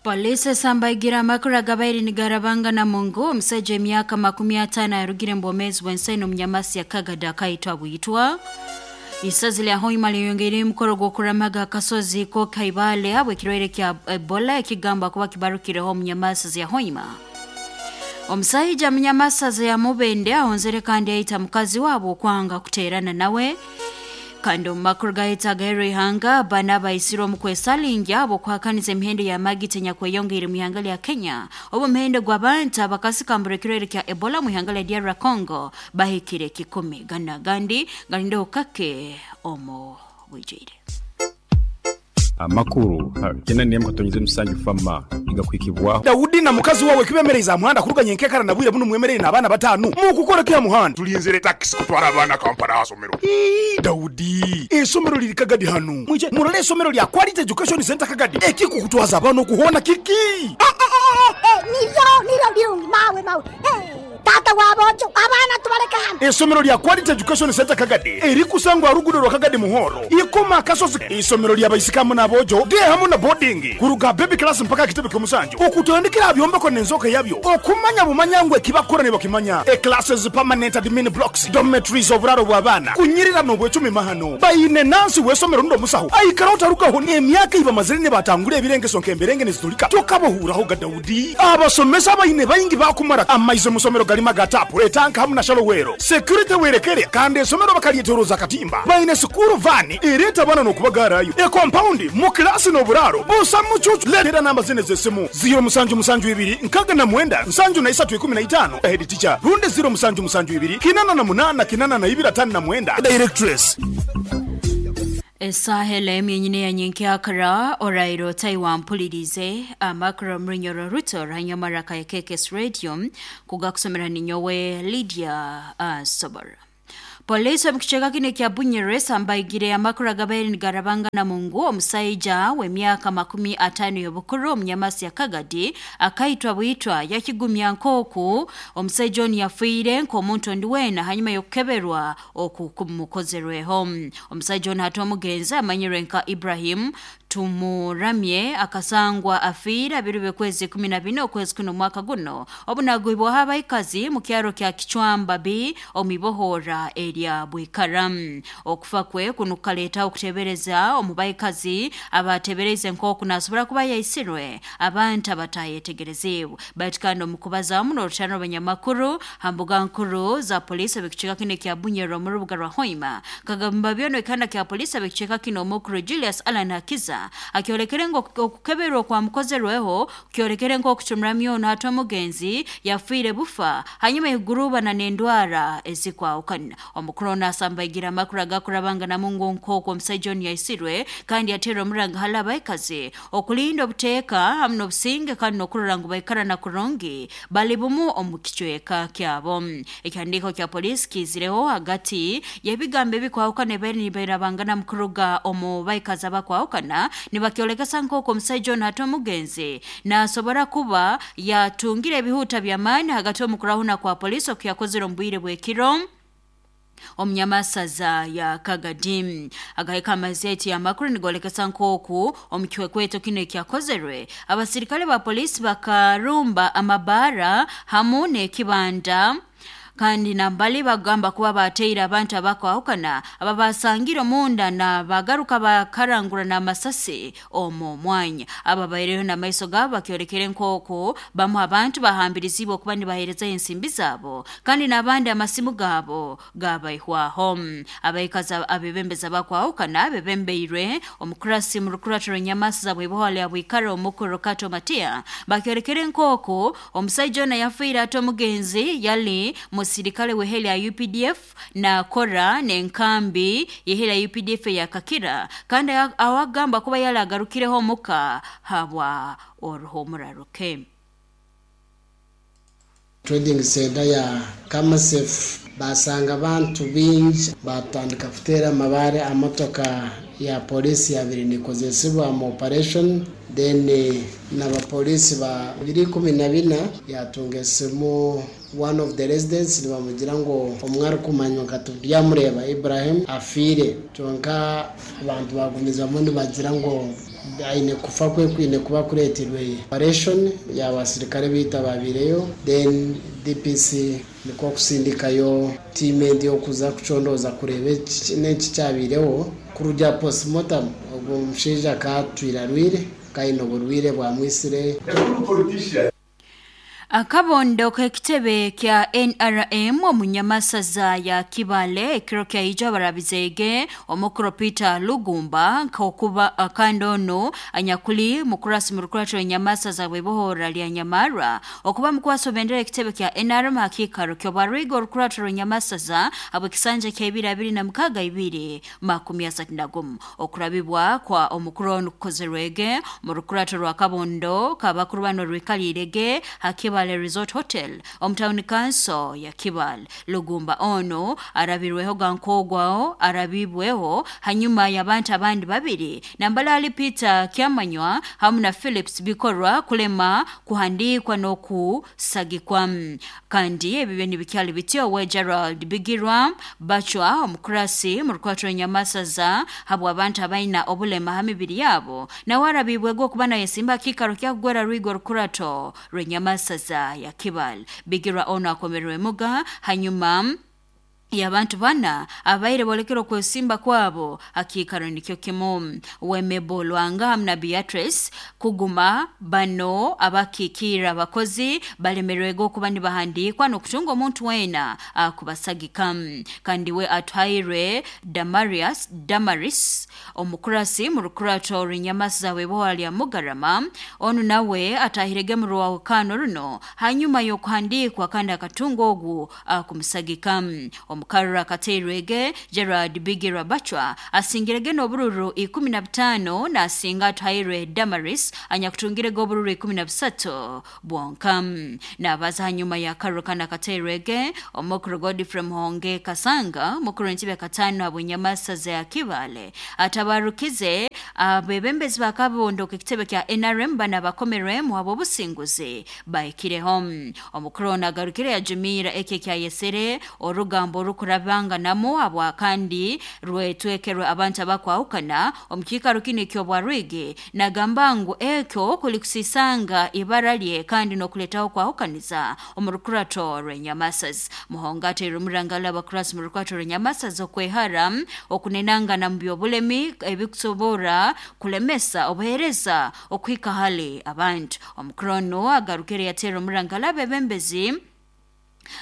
Polisi esambaigira amakuru agabaire nigarabangana mungu omusajja emyaka 50 yarugire mbomezi bw'ensi omunyamasi ya Kagada akaitwa bwitwa. Isazi lya Hoima liyongeire emikoro gw'okuramaga akasozi ko Kaibale habw'ekirwaire kya Ebola ekigamba kuba kibarukireho omunyamasi ya Hoima. Omusaija munyamasaza ya Mubende ahonzere kandi yaita mukazi wabo okwanga kuterana nawe. Kandi omu makuru gahita agahero ihanga bana abaisirwe omu kwesalingya habw'okuhakaniza emihendo y'amagita enyakweyongeire mu ihanga lya Kenya. Obu omuhendo gw'abantu abakasikambura ekirwaire kya Ebola mu ihanga lya DR Congo bahikire 100. Ganu agandi galindeho kake omu bwijwire. Amakuru 8.7 fama igakwikibwaho. Daudi na mukazi wawe kibemereza aha muhanda kuruganya enkekara na bwire buno mwemerere n'abaana batano mukukora ki aha muhanda? Tulinzire taxi kutwara abaana Kampala aha somero. Ii, Daudi, esomero liri Kagadi hanu. Mwije murole esomero lya Quality Education Center Kagadi. Ekikukutwaza abaana okuhona kiki? Niryo niryo birungi mawe mawe. Tata wabojo abaana tubaleka hano. Esomero lya Quality Education Center Kagadi erikusangwa rugudo rwa Kagadi Muhoro ikoma akasozi. Isomero lya baisikamu n'abojo de hamu na boarding kuruga baby class mpaka kitebe ky'omusanju okutandikira byombeko n'enzoka yabyo okumanya bumanya ngwe kibakora ne bakimanya. E classes permanent admin blocks dormitories oburaro bw'abaana kunyirira n'obwecumi mahano bayine nansi w'esomero ndo musaho aikara otarugaho n'emyaka ibamazire ne batangura ebirengeso nk'emberenge nezitulika tokabohuraho ga Daudi. Abasomesa abayine bayingi bakumara amaize musomero galima gatapu etanka hamu na shalowero security werekere kandi esomero bakalyetoroza katimba bayine sukuru vani ereta abana n'okubagarayo e compound mu klasi n'oburaro busa mucucu. Letera namba zine z'esimu 0772 69 73 15 head teacher runde 0772 88 82 59 directress. Esaha emyenyine ya nyenkyakara orairo taiwampulirize amakuru mrinyoro ruto ranyamara ka KKS Radio kugakusomera ninyowe Lydia Sobora. Polisi omu kicweka kino ekya Bunyere sambaigire amakuru agabaire nigarabangana mungu omusaija w'emyaka 50 y'obukuru omunyamasi ya Kagadi akaitwa bwitwa yakigumya nk'oku omusaija onu yafiire nk'omuntu ondi weena hanyuma y'okukeberwa oku kumukozerweho. Omusaija onu hati omugenzi amanyirwe nka Ibrahim Tumuramye akasangwa afiire abiri b'okwezi 14 okwezi kuno omwaka guno obunagwibwaho abaikazi mu kyaro kya Kichwamba B omu ibohora erya Bwikara. Okufa kwe kuno kukaleetaho okutebereza omu baikazi abatebereize nk'oku nasobora kuba yaisirwe abantu abatayetegereziibwe. Baitu kandi omu kubazaamu n'orutano rw'abanyamakuru ha mbuga nkuru za polisi ab'ekicweka kino ekya Bunyoro omu rubuga rwa Hoima, kagamba byona ekihanda kya polisi ab'ekicweka kino omukuru Julius Allan Hakiza akyolekere ngu okukeberwa okwamukozerweho kyolekere nk'okucumura ono hati omugenzi yafiire bufa hanyuma igurubana n'endwara ezikwahukana. Omukuru ono asambaigira amakuru agakurabanganamu ngu nk'oku omusaija onu yaisirwe kandi yateerwa omuranga hali abaikazi okulinda obuteeka hamu n'obusinge kandi n'okurora ngu baikarana kurungi bali bumu omu kicweka kyabo. Ekihandiiko kya polisi kiizireho hagati y'ebigambo ebikwahukana ebibaire nibairabangana mu kuruga omu baikazi abakwahukana nibakyolekesa nk'oku omusaija onu hati omugenzi nasobora kuba yatungire ebihuta by'amaani hagati omu kurahuna kwa polisi okuyakozere omu bwire bw'ekiro omunyamasaza ya Kagadi. Agahika amazeti y'amakuru nigolekesa nk'oku omu kikwekweto kino ekyakozerwe abasirikale ba polisi bakarumba amabara hamu n'ekibanda kandi nambali bagamba kuba bateire abantu abakwahukana ababasangire omunda na bagaruka bakarangura n'amasasi omu mwanya. Aba baireho n'amaiso gaabo bakyolekere nk'oku bamu abantu bahambirizibwe okuba nibaheereza ensimbi zaabo kandi n'abandi amasimu gaabo gabaihwaho. Abaikazi abebembezi abakwahukana bebembeirwe omukurasi mu rukuratiro nyamasi za bwiboho lya Bwikara omukuru Kato Matia bakyolekere nk'oku omusaija ono yafiire ate omugenzi yali musirikale w'eheli ya UPDF na kora n'enkambi y'eheli ya UPDF ya Kakira kandi awagamba kuba yali agarukireho omuka habwa oruhumuraruke. Trading center ya Kamasef basanga abantu bingi batandika kutera amabare amotoka ya polisi yabiri nikozesebwa mu operation then n'abapolisi ba 214 yatunga esimu one of the residents nibamugira ngo omwe arikumanywa nka Turyamureba Ibrahim afiire, kyonka abantu bagumizamu nibagira ngo Aine kufa kwe kwine kuba kureetirwe operation y'abasirikare biita babireyo, then DPC nikwo kusindikayo tiimu endi okuza kucondooza kureeba n'eki kyabireho. Kuruga postmortem ogwo omushaija akatwire arwire, kaine oburwire bwamwisire. Akabondo k'ekitebe kya NRM omunyamasaza ya Kibale ekiro kyaija barabizege omukuru Peter Lugumba nkokuba kandi ono anyakuli mukurasi mu rukurato nyamasaza bwebohora lya Nyamarwa okuba mukwaso bendera ekitebe kya NRM hakikaro kyobarigo rukurato nyamasaza abo kisanja kya 2026 231 okurabibwa kwa omukuru ono kukozerwege mu rukurato rwa Kabondo kabakuru bano rwikalirege hakibale Resort Hotel omutawuni kanso ya Kibale. Lugumba ono arabirweho gankogwao arabibweho hanyuma y'abantu abandi babiri Nambalali Peter Kyamanywa hamu na Phillips bikorwa kulema kuhandikwa n'okusagikwa. Kandi ebibyo nibikyali bityo we Gerald Bigirwa Bachwa omukurasi mu rukwato nyamasaza habwa abantu abaina obulema ha mibiri yabo nawe arabibwego okuba nayesimba kikaro kyakugwera rwigo rukurato rwenyamasaza ya Kibale. Bigirwa ono akomerwe muga hanyuma y'abantu bana abaire bolekera okwesimba kwabo akikaro nikyo kimu. Wemebo Lwanga hamu na Beatrice kuguma bano abakikira abakozi balemerwego okuba nibahandikwa n'okutunga omuntu wena akubasagika. Kandi we atwairwe Damaris omukurasi mu rukurato rw'inyamasaza webohora lya Mugarama onu nawe atahirege mu rwahukano runo hanyuma y'okuhandikwa kandi akatunga ogu akumusagika. Omukarura akateirwege Gerard Bigirwa Bachwa asingirege n'obururu 15 nasinga atwairwe Damaris anyakutungirege obururu 13 bwonka. Nabaza hanyuma ya karuru kandi akateirwege omukuru Godfrey Muhonge Kasanga mukuru w'entebe katano abwenyamasaza ya Kibale atabarukize abebembezi bakabondo ekitebe kya NRM bana bakomerwemu abo obusinguzi bahikireho. Omukuru ono agarukire yajumira eki ekyayesere orugambo orukurabanganamu abwa kandi rwetwekerwe abantu abakwahukana omu kiikaro kinu eky'obwarwigi nagamba ngu ekyo kuli kusisanga ibara lye kandi n'okuleetaho kwahukaniza omu rukurato rw'enyamasazi. Muhonga ateire omurangala abakurasi mu rukurato rw'enyamasazi okwehara okunenangana mu by'obulemi ebikusobora kulemesa obuheereza okuhika hali abantu. Omukuru ono agarukire yateera omurangala abebembezi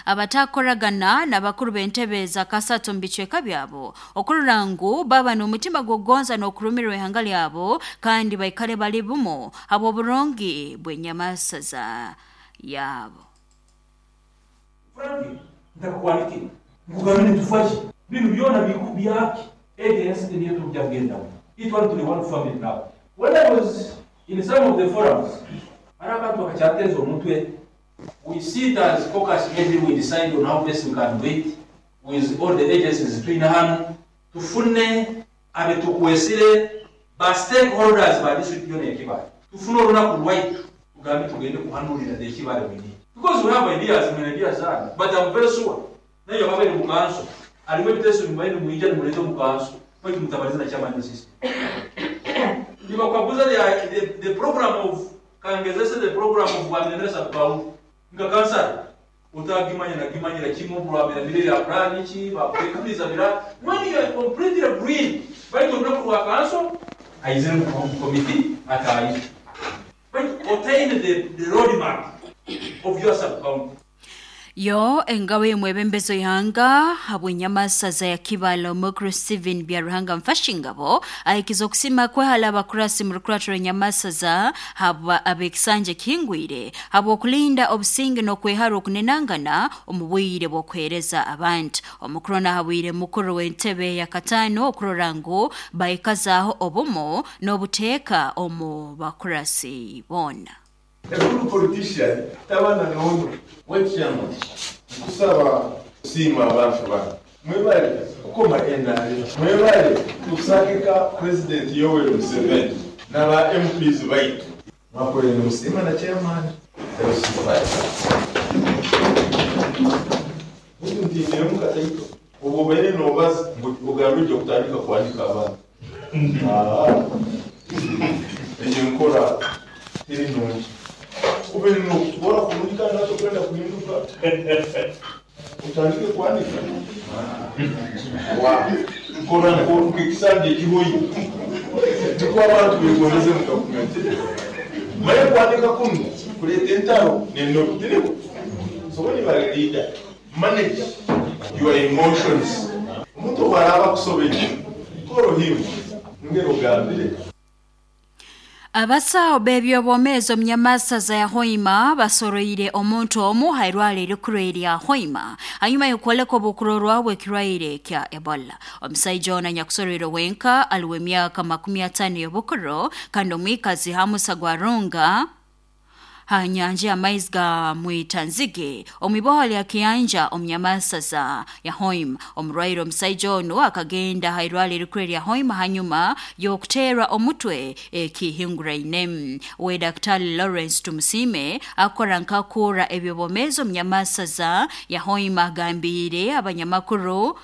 abatakoragana n'abakuru b'entebe za kasatu mu bicweka byabo okurora ngu baba n'omutima gw'okugonza n'okurumirwa ihanga lyabo kandi baikale bali bumu habw'oburungi bw'enyamasaza yabo. Frank, ntakukwandikira nkugambe nitufaki binu byona byaki agency niyo tujja kugendamu itwali tuli one family now. When I was in some of the forums, hari abantu bakakyateza omutwe. We sit as caucus, maybe we decide on how best we can do it with all the agencies twina hano, tufune abetukwesire ba stakeholders ba district yona ekibale, tufune olunaku lwaitu tugambe tugende kuhanulira the Ekibale we need, because we have ideas, many ideas zange, but I'm very sure nayo babaire mu kanso alimu ebiteeso bimubaire nimwija nimuleta omu kanso baitu mutabaliza na chairman system nibakaguza the program of kangezese the program of Rwamiremire sub-county nka kansara utagimanya nagimanyira kimu Rwamiremire ya plan ki bakwekuriza bira when you are completely green baitu olunaku rwa kanso aizire mu committee atayi but obtain the roadmap of your sub-county. Yo engabo y'omwebembezo ihanga habw'enyamasaza ya Kibale omukuru Steven Byaruhanga Mfashingabo ahikiza okusima kwehala abakurasi mu rukurato rw'enyamasaza habwa ab'ekisanja kihingwire habw'okulinda obusinge n'okwehara okunenangana omu bwire bw'okuheereza abantu. Omukuru ono ahabwire mukuru w'entebe ya katano okurora ngu baikazaaho obumu n'obuteeka omu bakurasi boona. A good politician tabana n'ono. Wechairman, nkusaba kusiima abantu bano. Mwebale kukoma NRM. Mwebale kusagika President Yoweri Museveni n'aba MPs baitu. Mwakolere musiima na chairman. Buti ntiiniremu kataito. Obwo obaire noobaza ngu ogambe ojja kutandika kuandika abantu. Eyo enkora teri nungi. Ube nokukora kurungi kandi natokwenda kuhinduka. Utandike kuandika. Wa nkora nk'ekisanja ekihoyi. Tukwo abantu begoneze mu gavumenti. Maye kuandika kuno kuleeta entaro n'ennobi tiriho. So when you are a leader, manage your emotions. Omuntu bw'araba akusobedde, call him. Ngero ogambire. Abasawo b'ebyobwomeezi omunyamasaza ya Hoima basoroire omuntu omu hairwara erikuru erya Hoima hanyuma y'okwoleka obukurorwa bw'ekirwaire kya Ebola. Omusaija ono anyakusoroire wenka ali w'emyaka 50 y'obukuru kandi omwikazi Hamusa Gwarunga ha nyanja y'amaizi ga Mwitanzige omwiboho lya Kiyanja omunyamasaza ya Hoima. Omurwaire omusaija onu akagenda hairwara erikuru erya Hoima hanyuma y'okuteerwa omutwe ekihinguraine. We Daktari Lawrence Tumusime akora nkakura ebyobwomeezi omunyamasaza ya Hoima agambiire abanyamakuru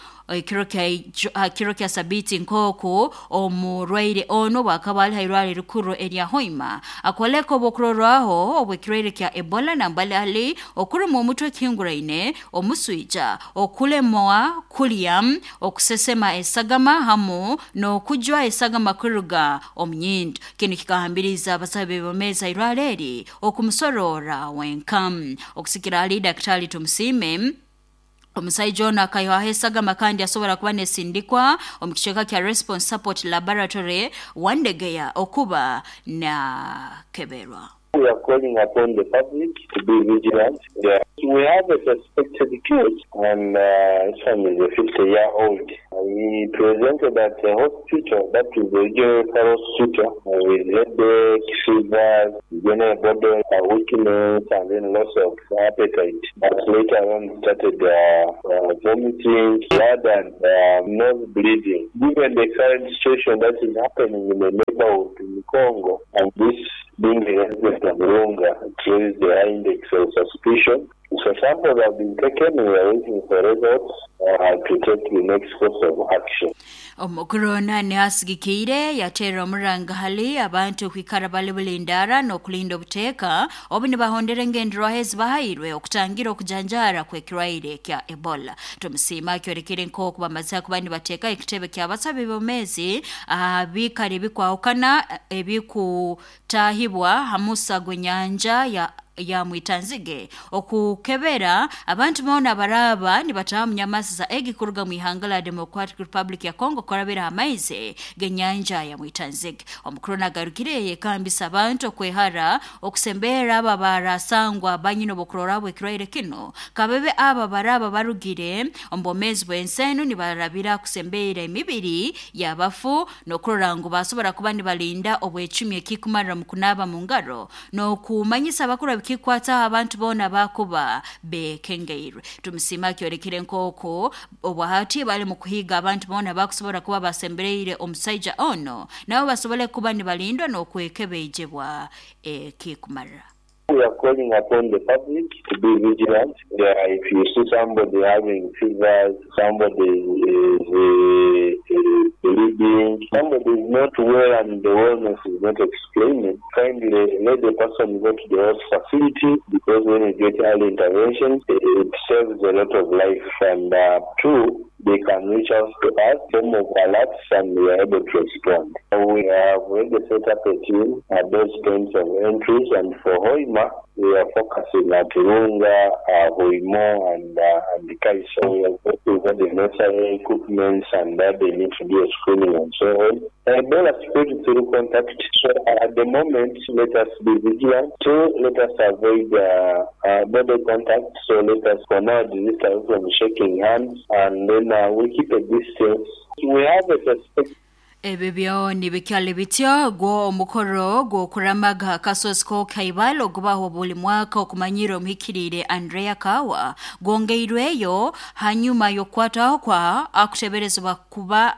kiro kya sabiti nk'oku omurwaire ono bwakaba ali hairwara erikuru erya Hoima akoleka obukurorwaho obw'ekirwaire kya Ebola nambali ali okuruma omutwe ekihinguraine, omuswija, okulemwa kulya, okusesema esagama hamu n'okujwa esagama kuruga omu nyindo. Kinu kikahambiriza abasaho b'ebyomeezi hairwara eri okumusorora wenka. Okusikira ali Daktari Tumusime omusaija ono akaihaho esagama kandi asobora kuba nesindikwa omu kicweka kya Response Support Laboratory Wandegeya okuba nakeberwa. We are calling upon the public to be vigilant. Yeah. We have a suspected case, and this one is a 50-year-old. He presented at a hospital, that is the regional referral hospital, with headache, fevers, general body weakness, and then loss of appetite. But later on started vomiting, blood, and nose bleeding. Given the current situation that is happening in the neighborhood in Congo, and this being the resident of Runga, it raised the high index of suspicion. So samples have been taken, we are waiting for results to take the next course of action. Omukuru ono asigikiire yateera omuranga hali abantu okwikara bali bulindara n'okulinda obuteeka obu nibahondera engenderwaho ezibahairwe okutangira okujanjara kw'ekirwaire kya Ebola. Tumusiima akyorekere nk'oku bamaze kuba nibateeka ekitebe ky'abasabi b'omeezi aha biikaro ebikwahukana ebikutaahibwa ha musa gw'enyanja ya Mwitanzige okukebera abantu boona baraba nibataaha munyamasaza egi kuruga mu ihanga la Democratic Republic ya Congo kurabira amaizi g'enyanja ya Mwitanzige. Omukuru nagarukire yekambisa abantu okwehara okusembera aba barasangwa banyina obukurora bw'ekirwaire kino kabebe aba baraba barugire omu bwomeezi bw'ensi enu nibarabira kusembera emibiri y'abafu n'okurora ngu basobora kuba nibalinda obwecumi ekikumarira mu kunaaba mu ngaro n'okumanyisa abakuru kikwata abantu boona bakuba bekengeirwe. Tumusima akyorekere nk'oku obwahati bali mu kuhiga abantu boona bakusobora kuba basembereire omusaija ono nabo basobole kuba nibalindwa n'okwekebejebwa ekikumara. We are calling upon the public to be vigilant. Yeah, if you see somebody having fevers, somebody is bleeding, somebody is not well and the wellness is not explaining, kindly let the person go to the health facility, because when you get early intervention, it saves a lot of life. And two, they can reach out to us, form of alerts, and we are able to respond. We have already set up a team at those points of entries, and for Hoima, we are focusing at Runga, Hoimo, and Kaiso. We are working with the necessary equipment and that they need to do a screening and so on. Ebola spread through contact. So at the moment, let us be vigilant. Two, let us avoid body contact. So let us for now desist from shaking hands, and then we keep a distance. We have a suspect. Ebyo byoni bikyali bityo gwo omukoro gw'okuramaga akasozi k'okaibalo ogubaho buli mwaka okumanyira omuhikiriire Andrea Kawa gwongeirweyo hanyuma y'okukwataho kwa akuteberezebwa kuba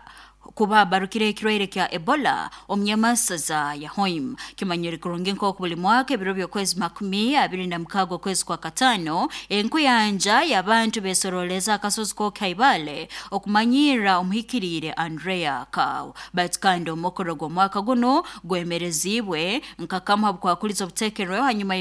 Kuba barukire ekirwaire kya Ebola omunyamasaza ya Hoima. Kimanyire kurungi nk'oku buli mwaka ebiro by'okwezi 26 okwezi kwa katano enkuyanja y'abantu besoroleza akasozi k'Okaibale okumanyira omuhikiriire Andrea Kawo. Baitu kandi omukoro gw'omwaka guno gwemerezibwe nkakamu habukwakuliza obutekerweho hanyuma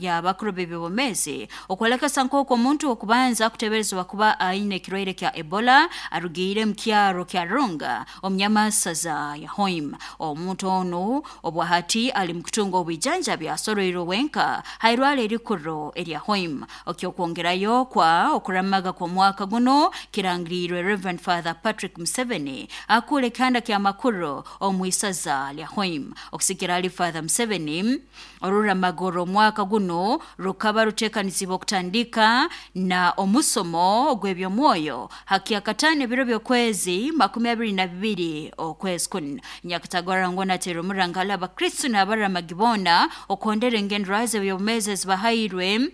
y'abakuru b'ebyobumezi okwolekesa nk'oku omuntu okubanza kuteberezebwa kuba aine ekirwaire kya Ebola arugiire mu kyaro kya Runga omunyamasaza ya Hoima. Omuntu onu obwahati ali mukutunga obwijanjabi asoroirwe wenka hairwara erikuru erya Hoima. Okyokwongerayo kwa okuramaga kw'omwaka guno kirangirirwe Reverend Father Patrick Museveni akura ekihanda ky'amakuru omu isaza lya Hoima. Okusikira ali Father Museveni, oruramaga orw'omwaka guno rukaba ruteekanizibwa okutandika na omusomo ogw'ebyomwoyo hakyakataano ebiro by'okwezi 22 okwezi kuno. Nyakatagara nateera omurangala abakristu n'abaramagi boona okwondera engenderaho z'ebyobumezi ezibahairwe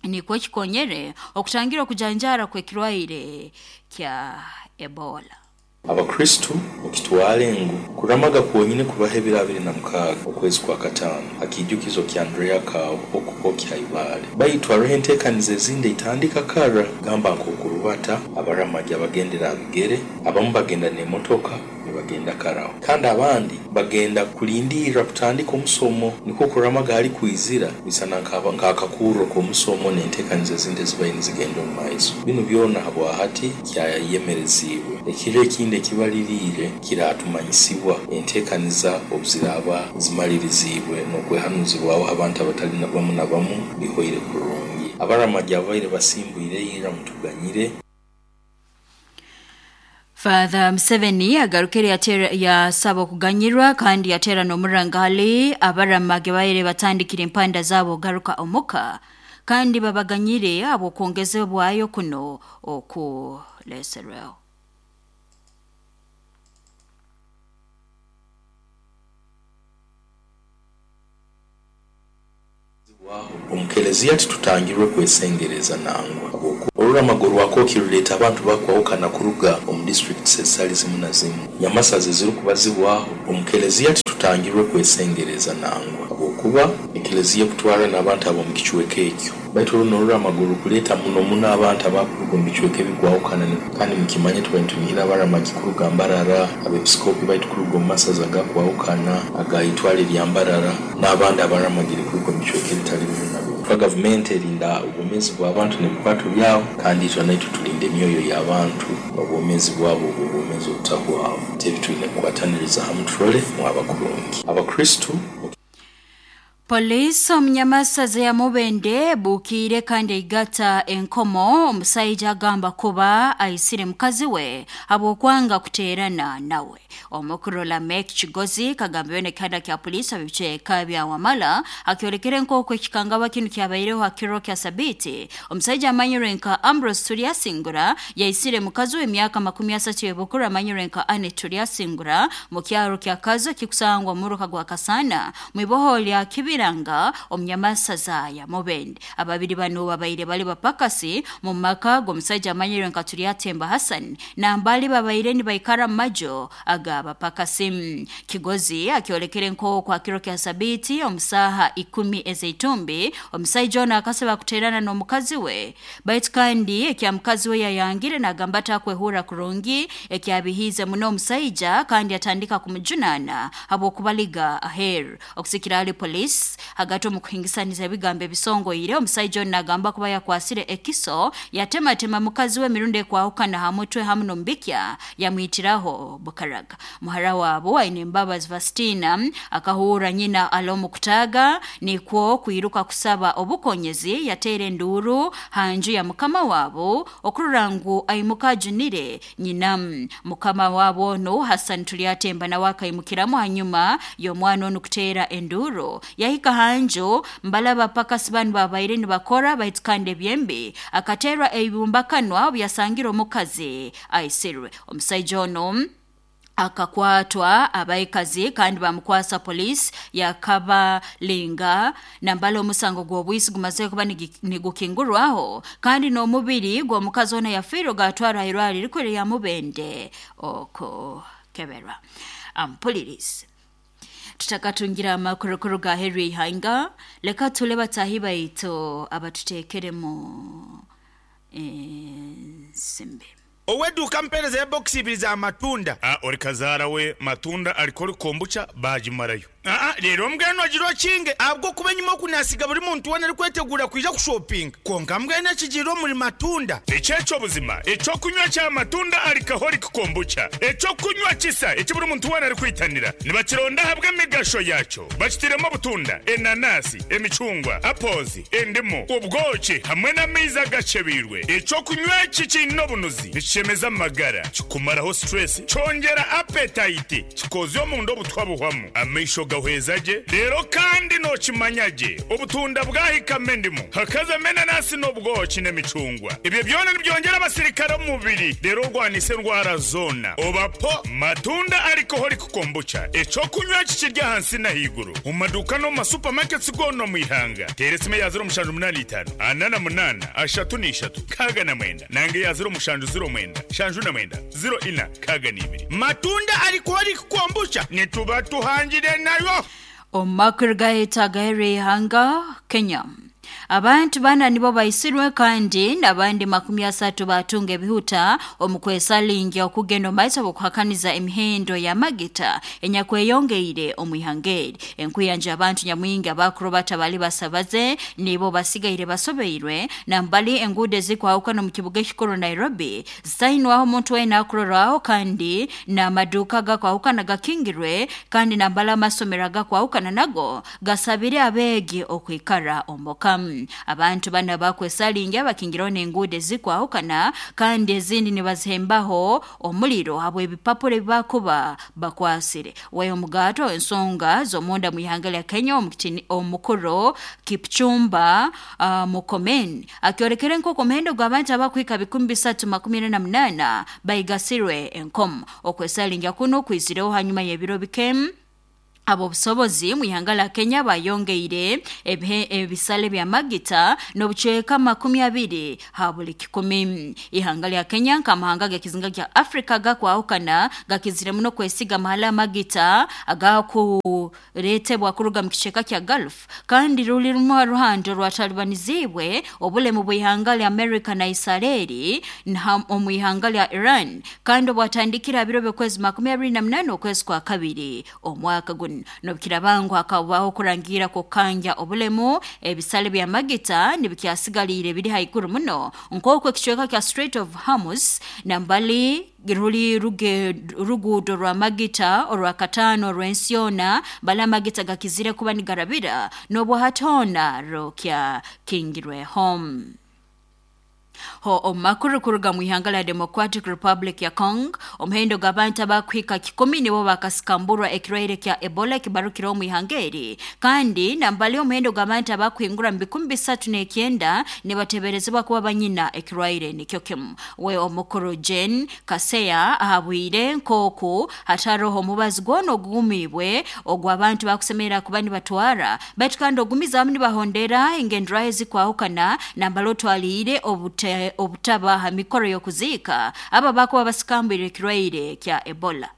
nikwo kikonyere okutangira okujanjara kw'ekirwaire kya Ebola. Abakristu mukitwale ngu kuramaga kwonyine kubaho ebiro 26 okwezi kwa katano hakiijukizo kya Andrea Kawo okukokya Ibale. Baitu hariho enteekaniza ezindi eitandika kara, gamba nk'okurubata abaramagi abagendera abigere, abamu bagenda n'emotoka nibagenda karaho, kandi abandi bagenda kulindirra kutandika omusomo, nikwo kuramaga hali kwizira bisana nk'akakurro k'omusomo n'enteekaniza ezindi ezibaire nizigenda omu maiso. Binu byona habwahati kyayemereziibwe. Ekiro ekindi ekibaliriire kiratumanyisibwa enteekaniza obuziraaba zimaliriziibwe n'okwehanuzibwaho abantu abatali bamu na bamu bihoire kurungi. Abaramagi ababaire basimbwire ira mutuganyire. Father Museveni agarukire yasaba okuganyirwa kandi yateera n'omurangali abaramagi baire batandikire empanda zaabo garuka omuka kandi babaganyire habw'okwongezebwayo kuno okuleserweho. Omukelezia titutangirwe kwesengereza nangwa. Oruramago rwako kiruleeta abantu bakwahukana kuruga omu districts ezitali zimu na zimu. Nyamasaza ezirukubazibwaho omukelezia titutangirwe kwesengereza nangwa habwokuba ekelezia ekutwara n'abantu ab'omu kicweka ekyo. Baitu runo oruramago rukuleeta muno muno abantu abakuruga omu bicweka ebikwahukana, kandi mukimanye tuba nitunihira abaramagi kuruga Mbarara, abepiskopi baitu kuruga omu masaza agakwahukana aga itwale lya Mbarara n'abandi abaramagire kuruga omu bicweka ebitali bimu na bimu. Gavumenti erinda obwomeezi bw'abantu n'ebikwato byabo, kandi itwe naitwe tulinda emyoyo y'abantu n'obwomeezi bwabo obwo obwomeezi obutahwaho. Tebi twine kukwataniriza hamu turole mwaba kurungi. Abakristu. Polisi omunyamasaza ya Mubende bukiire kandi eigata enkomo omusaija agamba kuba aisire mukazi we habw'okwanga kuteerana nawe. Omukuru Lamek Kigozi kagambiwe n'ekihanda kya polisi ab'ebicweka bya Wamala akyolekere nk'oku ekikangabwa kinu kyabaireho ha kiro kya Sabiiti. Omusaija amanyirwe nka Ambrose Turyasingura yaisire mukazi we emyaka 30 y'obukuru amanyirwe nka Anne Turyasingura mu kyaro kya Kazo kikusangwa omuruka gwa Kasana mwiboho lya Kibiranga omunyamasaza ya Mubende. Ababiri bano babaire bali bapakasi mu maka g'omusaija amanyirwe nka Turyatemba Hassan nambali babaire nibaikara mu majo ag'abapakasi. Kigozi akyolekere nk'oku akiro kya Sabiiti omusaha 10 ez'eitumbi omusaija ono akasaba kuteerana n'omukazi we, baitu kandi ekya mukazi we yayangire nagamba atakwehurra kurungi ekyabihiize muno omusaija kandi atandika kumujunaana habw'okubaliga aheeru. Okusikira ali polisi hagati omu kuhingisaniza ebigambo ebisongoire, omusaija ono nagamba kuba yakwasire ekiso yatematema mukazi we emirundi ekwahukana ha mutwe hamu n'omubikya yamwitiraho bukaraga. Muhara wabo aine Mbabazi Vastina akahurra nyina ali omu kutaaga nikwo kwiruka kusaba obukonyezi yateera enduuru ha nju ya mukama wabo okurora ngu aimuka ajunire nyina. Mukama wabo onu Hassan Turyatemba nawe akaimukiramu hanyuma y'omwana onu kuteera enduuru yahika ha nju mbalaba pakasi banu babaire nibakora, baitu kandi ebyembi akateerwa ebibumbakanwa obu yasangire omukazi aisirwe. Omusaija onu akakwatwa abaikazi kandi bamukwasa polisi yakabalinga nambala omusango gw'obwisi gumaze kuba nigukingurwaho kandi n'omubiri gw'omukazi ono yafiire gatwarwa hairwariro erikuru erya Mubende oko kukeberwa. Ampulirize tutakatungira amakuru kuruga aheru y'ihanga, leka tule batahi baitu abatuteekeremu ensimbi. Ow'edduuka mpeereza ebokisi ibiri za matunda. Ori kazaara we matunda arikora kombucha baagimarayo. Aa reero mbwenu ogira okinge ahabw'okuba enyima oku naasiga buri muntu weena arikwetegura kwija kushopinga. Kwonka mbwenu ekigiire omuri matunda. Eki eky'obuzima eky'okunywa kya matunda alcoholic kombucha. Eky'okunywa kisa eki buri muntu weena arikwitanira. Nibakironda ahabw'emigasho yaakyo. Bakitairemu obutunda, enanasi, emicungwa, apples, endimu, obwoki hamwe n'amaizi agakyebeirwe. Eky'okunywa eki kiine obunuzi, nikishemeza amagara, kikumaraho stress, kyongyera appetite, kikoozya omunda obutwa buhwamu, amaisho gahweza gye, reero kandi nookimanya gye obutunda bwahikamu endimu, hakazamu enanasi n'obwoki n'emicungwa. Ebyo byona nibyongyera abasirikare omu mubiri reero orwanise endwara zoona. Oba po Matunda Alcoholic Kombucha, eky'okunywa eki kiri ahansi n'ahaiguru omu maduuka n'omu ma supermarkets goona omu ihanga. Teera esimu eya 0785 48 33 69 nanga eya 0709 79 04 62. Matunda Alcoholic Kombucha nituba tuhangire nayo. Omu makuru gaitu agaheru y'ihanga Kenya, abantu bana nibo baisirwe kandi n'abandi 30 batunga ebihuta omu kwesalingya okugenda omu maiso bw'okuhakaniza emihendo y'amagita enyakweyongeire omu ihanga eri. Enkuyanja abantu nyamwingi abakurubata bali basabaze nibo basigaire basobeirwe nambali enguudo ezikwahukana omu kibuga ekikuru Nairobi zitainwaho omuntu weena akurorwaho kandi n'amaduuka agakwahukana gakingirwe kandi nambali amasomero agakwahukana nago gasabire abeegi okwikara omuka. Abantu bana bakwesalingya bakingiraho n'enguudo ezikwahukana kandi ezindi nibazihembaho omuliro habw'ebipapura ebibakuba bakwasire. We omugato ensonga z'omunda mu ihanga lya Kenya omukuru Kipchumba Murkomen akyolekere nk'oku omuhendo gw'abantu abakuhika 348 baigasirwe enkomo. Okwesalingya kuno kwizireho hanyuma y'ebiro bike ab'obusobozi mu ihanga lya Kenya bayongeire ebisale by'amagita n'obucweka 20 ha buli kikumi. Ihanga lya Kenya nk'amahanga g'ekizinga kya Afrika gakwahukana gakizire muno kwesiga amahala amagita agakureetebwa kuruga mu kicweka kya Gulf kandi ruli rumwe ruhando rwatalibanizibwe obulemu bw'ihanga lya Amerika na Israeli omu ihanga lya Iran kandi obwatandikira biro by'okwezi 28 okwezi kwa kabiri omwaka guno. Nobukirabangu hakabaho kurangira kukanja obulemu ebisale by'amagita nibikyasigaliire biri haiguru muno nk'oku ekicweka kya Strait of Hormuz nambali ruli ruguudo rwa magita orwakataano orw'ensi yoona bali amagita gakizire kuba nigarabira n'obwahatoona rukyakingirweho. Ho omu makuru kuruga mu ihanga lya Democratic Republic ya Congo, omuhendo gw'abantu abakuhika 10 nibo bakasikamburwa ekirwaire kya Ebola ekibarukire omu ihanga eri kandi nambali omuhendo gw'abantu abakuhingura mu 309 nibateberezebwa kuba banyina ekirwaire nikyo kimu. We omukuru Jane Kaseya ahabwire nk'oku hataroho omubazi gwona ogugumiibwe ogw'abantu bakusemerera kuba nibatwara baitu kandi ogumizamu nibahondera engenderaho ezikwahukana nambali otwaliire obutaba ha mikoro y'okuziika aba bakuba basikambwire ekirwaire kya Ebola.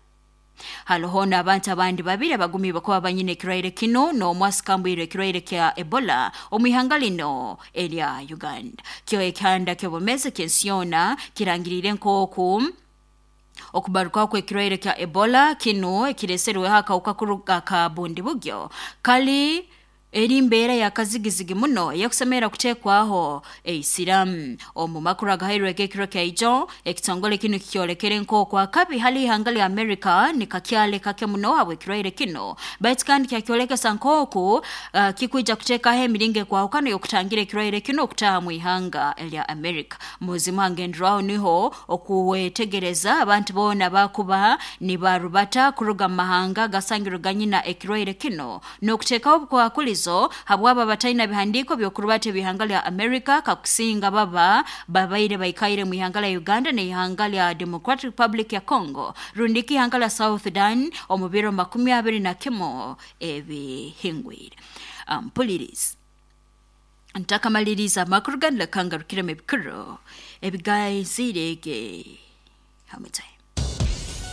Haloho n'abantu abandi babiri abagumiibwe kuba banyina ekirwaire kino n'omwe asikambwire ekirwaire kya Ebola omu ihanga lino erya Uganda. Kyo ekihanda ky'obumezi ky'ensi yoona kirangiriire nk'oku okubarukaho kw'ekirwaire kya Ebola kino ekireeserweho akawuka kuruga ka Bundibugyo kali eri mbeera yakazigizigi muno eyakusemerera kuteekwaho eisiramu. Omu makuru agahairwe ekiro kyaijo ekitongole kinu kikyolekere nk'oku akabi hali ihanga lya Amerika nikakyale kake muno habw'ekirwaire kino baitu kandi kyakyolekesa nk'oku kikwija kuteekaho emiringo ekwahukana y'okutangira ekirwaire kino okutaaha mu ihanga erya Amerika. Muzimu hangenderwaho niho okuwetegereza abantu boona bakuba nibarubata kuruga mu mahanga gasangirwe ganyina ekirwaire kino n'okuteekaho obukwakulizo habwaba bataina bihandiiko by'okurubata ebihanga lya Amerika kakusinga baba babaire baikaire mu ihanga lya Uganda n'ihanga lya Democratic Republic ya Congo rundiki ihanga lya South Sudan omu biro 21 ebihingwire. Mpuliriza ntakamaliriza amakuru ganu lekangarukiremu ebikuru ebigaizirege hamutaye.